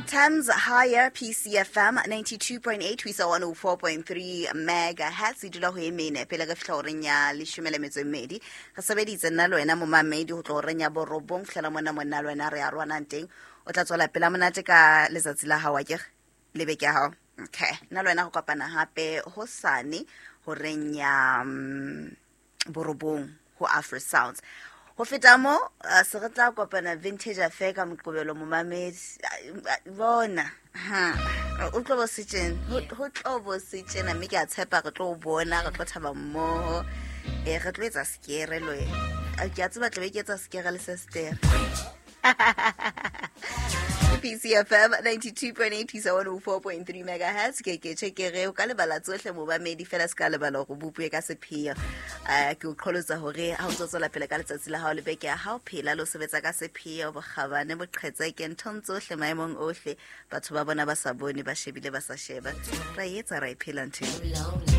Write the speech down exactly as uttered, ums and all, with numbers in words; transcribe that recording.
Times Higher P C F M ninety-two point eight ho isa one oh four point three megahertz, e dula ho e mene pele re fihla horeng ya leshome le metso e mmedi. Re sebeditse nna le wena momamedi ho tlo horeng ya borobong, fihlela mona monna le wena re a rwanang teng. O tla tswela pela monate ka letsatsi la hao, akere le beke ya hao. Okay, nna le wena go kopana hape hosane horeng ya mm, borobong ho Afro Sounds. Ho feta mo, uh, se re tla kopana Vintage Affair ka Moqobelo. Momamedi, ah, bona ha o tlo bo se tjena, ho ho tlo bo se tjena, mme ke a tshepa re tlo o bona, re tlo thaba mmoho, e re tlo etsa sekere le wena. Ah, ke a tseba tlabe ke etsa sekere le sestere. P C F M ninety-two point eight isa one oh four point three megahertz. Ke ke tjhe, o ka lebala tsohle momamedi, fela se ka lebala hore bopuwe ka sepheo. um ke o qholotsa hore ha o ntso tswela pele ka letsatsi la hao le beke ya hao, phela le ho sebetsa ka sepheo, bokgabane, boqhetseke nthong tsohle, maemong ohle. Batho ba bona ba sa bone, ba shebile ba sa sheba, ra e etsa, ra e phela ntho eo.